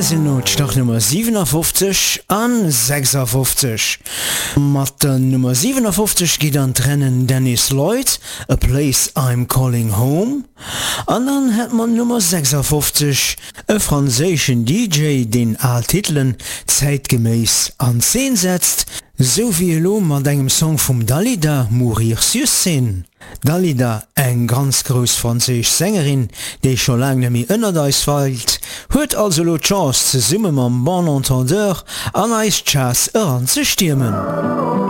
Hei sinn elo d'Startnummer 57 an 56. Mat der Nummer 57 geet an d'Rennen Dennis Lloyd, A Place I'm Calling Home. An dann hätt mer d'Nummer 56, e franséischen DJ, deen al Titelen zäitgeméiss an Zeen setzt, sou wéi elo mat engem Song vum Dalida, Mourir sur scène. D'Dalida, eng ganz grouss franséisch Sängerin, déi scho laang net méi ënnert eis weilt, huet also elo d'Chance zesumme mam Bon Entendeur an eis Charts eran ze stiermen.